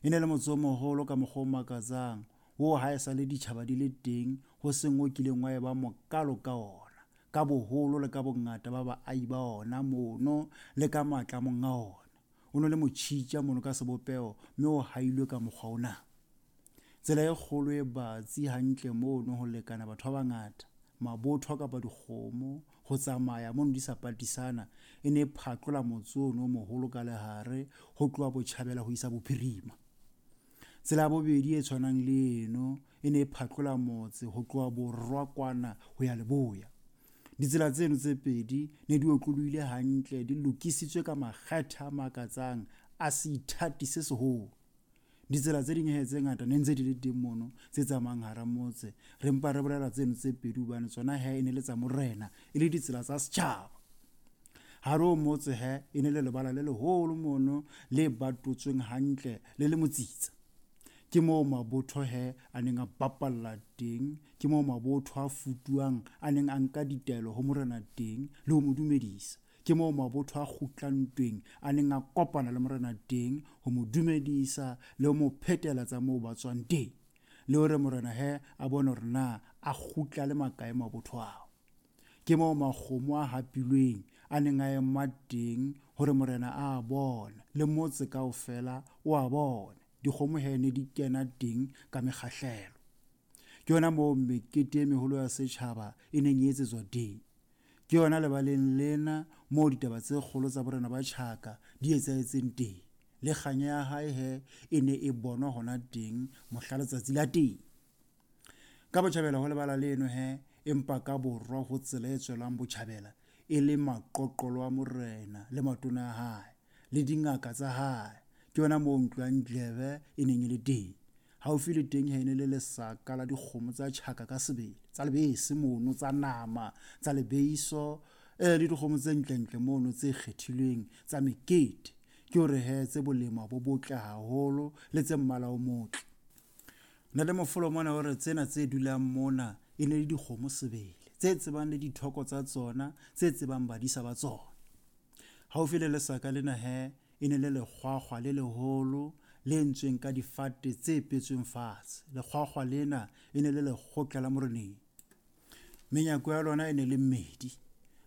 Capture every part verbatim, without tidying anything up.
E ne le motse o moholo ka mokgwa o makatsang, oo ha e sa le ditjhaba di le teng ho seng o kileng wa eba mokalo ka ona, ka boholo le ka bongata ba baahi ba ona mono le ka matla a monga ona. O no le motjhitja mono ka sebopeho, mme o hailwe ka mokgwa ona. Tsela e kgolo e batsi hantle mono ho lekana batho ba bangata, mabotho kapa dikgomo ho tsamaya mono di sa patisana, e ne e phatlola motse ono o moholo ka lehare ho tloha botjhabela ho isa bophirima. Tsela ya bobedi e tshwanang le eno e ne e phatlola motse ho tloha borwa kwana ho ya leboya. Ditsela tseno tse pedi ne di otlolohile hantle, di lokisitswe ka makgethe a makatsang a seithati se seholo. Ditsela tse ding he tse ngata ne ntse di le teng mono tse tsamayang hara motse, re mpa re bolela tseno tse pedi hobane tsona he e ne le tsa morena, e le ditsela tsa setjhaba. Hare ho motse he e ne le lebala le leholo mono le batotsweng hantle le le motsitsa. Ke moo mabotho he a neng a bapalla teng, ke moo mabotho a futuang a neng a nka ditaelo ho morena teng le ho mo dumedisa. Ke moo mabotho a kgutlang ntweng a neng a kopana le morena teng ho mo dumedisa le ho mo phetela tsa moo ba tswang teng, le hore morena he a bone hore na a kgutla le makae mabotho ao. Ke moo makgomo a hapilweng a neng a ema teng hore morena a bone le motse kaofela o a bone. Dikgomo he ne di kena teng ka mekgahlelo. Ke yona moo mekete e meholo ya setjhaba e neng e etsetswa teng. Ke yona lebaleng lena moo ditaba tse kgolo tsa borena ba Tjhaka di etsahetseng teng. Le kganya ya hae he e ne e bonwa hona teng mohla letsatsi la teng. Ka botjhabela ho lebala leno he, empa ka borwa ho tsela e tswelang botjhabela e le maqoqolo a morena le matona a hae le dingaka tsa hae. Ke yona moo ntlo ya Ndlebe e neng e le teng. Haufi le teng he e ne le lesaka la dikgomo tsa Tjhaka ka sebele, tsa lebese mono, tsa nama, tsa lebeiso, eh le dikgomo tse ntlentle mono tse kgethilweng tsa mekete. Ke hore he tse bolema bo botle haholo le tse mmala o motle. Na le mofolo mona hore tsena tse dulang mona e ne le dikgomo sebele, tse tsebang le dithoko tsa tsona, tse tsebang badisa ba tsona. Haufi le lesaka lena he e ne le lekgwakgwa le leholo le entsweng ka difate tse petsweng fatshe. Lekgwakgwa lena e ne le lekgotla la moreneng. Menyako ya lona e ne le mmedi,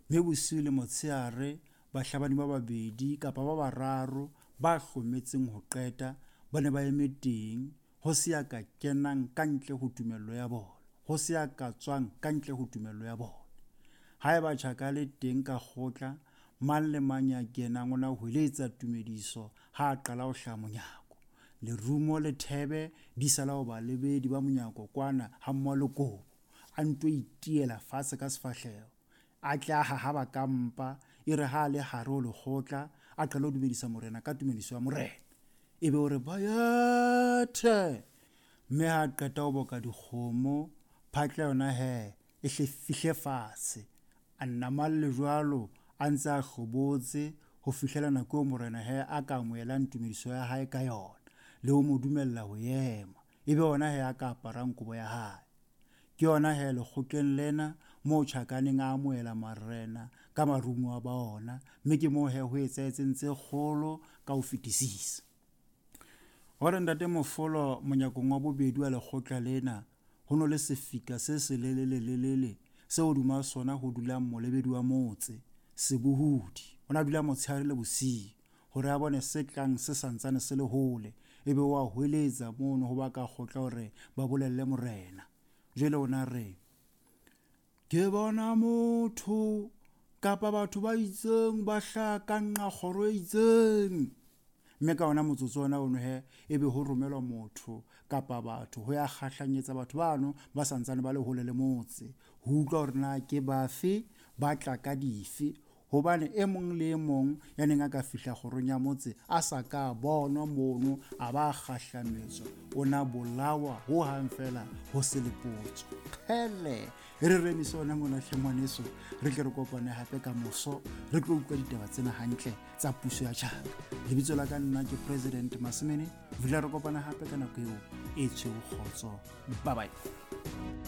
mme bosiu le motshehare bahlabani ba babedi kapa ba bararo ba hlometseng ho qeta ba ne ba eme teng, ho se ya ka kenang ka ntle ho tumello ya bona, ho se ya ka tswang ka ntle ho tumello ya bona. Haeba Tjhaka le teng ka kgotla, mang le mang ya kenang o na hweletsa tumediso ha a qala ho hlaha monyako. Lerumo le thebe di sala ho balebedi ba monyako kwana ha mmoho le kobo, a nto itiela fatshe ka sefahleho, a tle a hahaba ka mpa, e re ha a le hare ho lekgotla a qale ho dumedisa morena ka tumediso ya morena, ebe o re bayethe. Mme ha a qeta ho boka dikgomo, phatla yona he e hle fihle fatshe, a nnamalle jwalo a ntse a hlobotse ho fihlela nako eo morena he a ka amohelang tumediso ya hae ka yona le ho mo dumella ho ema, ebe ona he a ka aparang kobo ya hae. Ke yona he lekgotleng lena moo Tjhaka neng a amohela marena ka marumo a ba ona, mme ke moo he ho etsahetseng tse kgolo ka ho fetisisa. Hore ntate Mofolo monyakong wa bobedi wa lekgotla lena ho no le sefika se selelelelele seo hodima sona ho dulang molebedi wa motse, sebohodi. O na dula motshehare le bosiu hore a bone se tlang se santsane se le hole, ebe wa hweletsa mono ho ba ka kgotla hore ba bolelle morena. Jwale o na re, ke bona motho kapa batho ba itseng ba hlaha ka nqa kgoro e itseng. Mme ka ona motsotso ona ono he ebe ho romelwa motho kapa batho ho ya kgahlanyetsa batho bano ba santsane ba le hole le motse, ho utlwa hore na ke bafe, ba tla ka dife, hobane e mong le e mong ya neng a ka fihla kgorong ya motse a sa ka bonwa mono a ba kgahlametswa, o na bolawa ho hang fela ho se le potso. Kgele, re remise ona mona hle ngwaneso, re tle re kopane hape ka moso, re tlo utlwa ditaba tsena hantle tsa puso ya Tjhaka. Lebitso la ka nna ke President Masimene, re tla re kopana hape ka nako eo e tshweu kgotso. Bye bye.